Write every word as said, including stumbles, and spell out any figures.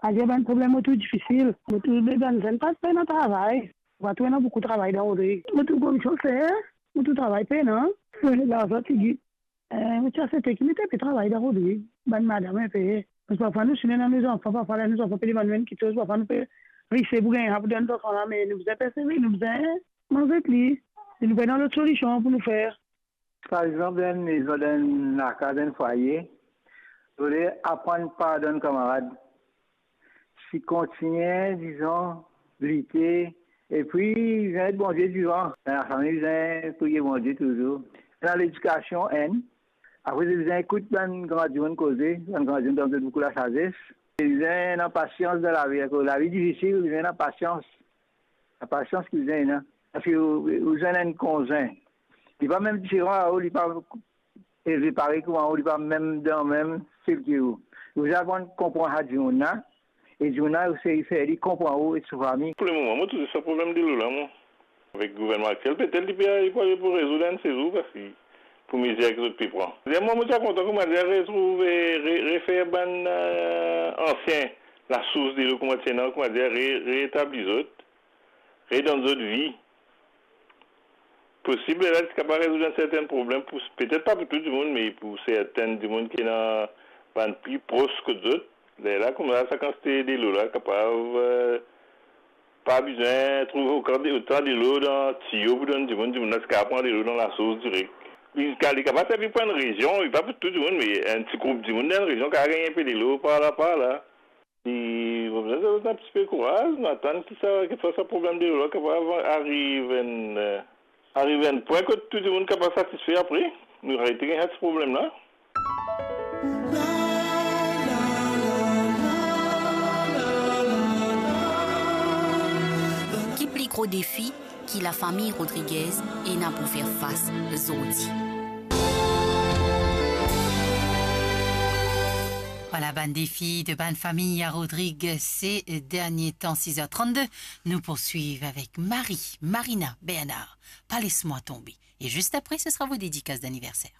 Aze bann problem mo trouv difisil. Mo trouv bann zenn pa pena travay. Pa trouv ena boukou travay dan Rodrig. Mo trouv konn sofer, mo trouv travay pena. Larzan ti git. Eh, mo ti asepte ki met inpe travay dan Rodrig, bann madam inpe. Parski parfwa nou signe dan nou zanfan, parfwa la nou zanfan pe demann nou enn kiksoz, parfwa nou pe rise pou gagn sa pou donn zanfan la, me nou bizin persevere, nou bizin manz li. E nou pena lot solision pou nou fer. Par exanp, dan enn mezon, dan enn lakaz, dan enn fwaye, zot le aprann pardonn kamarad. Si kontigne, dizon, lite, epi bizin met Bondie divan. Dan lafami, bizin priye Bondie touzour. Dan ledikasion, enn. Apre, bizin ekout bann gran dimoun koze, bann gran dimoun donn zot boukou lasazes. Bizin ena pasians dan lavi, akoz lavi difisil, bizin ena pasians. Lapasians ki bizin ena. Parski ou, ou bizin enn konzin. Li pa mem diferan ar ou, li pa elve parey kouma ou, li pa mem dan mem stil ki ou. Ou bizin aprann konpran sa dimoun la, e dimoun la, ou sey fer li konpran ou e so fami. Pou lemoman, mo touzour sa problem delo la, mwa. Avek gouvernman aktiel, petet li pe, li pe arive pou rezoud enn sezour, parski pou mezir ki zot pe pran. Mwa, mo ti a kontan, koumadir, retrouve, re-, refer bann, eh, ansien lasours delo, koumadir, koumadir, re-, reetabli zot, redonn zot vi. Posib, lerla ti kapav rezoud enn serten problem pou, petet pa pou tou dimoun, me pou serten dimoun ki ena bann pli pros kot zot. Lerla, koumsa, sa kantite delo la kapav, eh, pa bizin trouv otan de, otan delo dan tiyo pou donn dimoun, dimoun la ti kapav pran delo dan lasours direk. Li, li kapav servi pou enn rezion, li pa pou tou dimoun, me enn ti group dimoun dan enn rezion kapav gagn enpe delo par la, par la. E mo bizin dir zot enn tipe kouraz, nou atann ki sa, ki sa, sa problem delo la kapav ariv enn, eh, ariv enn pwin kot tou dimoun kapav satisfe apre, nou arete gagn sa ti problem la. Ki pli gro defi ki lafami Rodriguez ena pou fer fas zordi? Vwala bann defi de bann fami a Rodrig se dernie tan, sis er trannde. Nou poursuiv avek Marie, Marina, Bernard, Pa les mwa tonbe. E zis apre, se sera vo dedikas daniverser.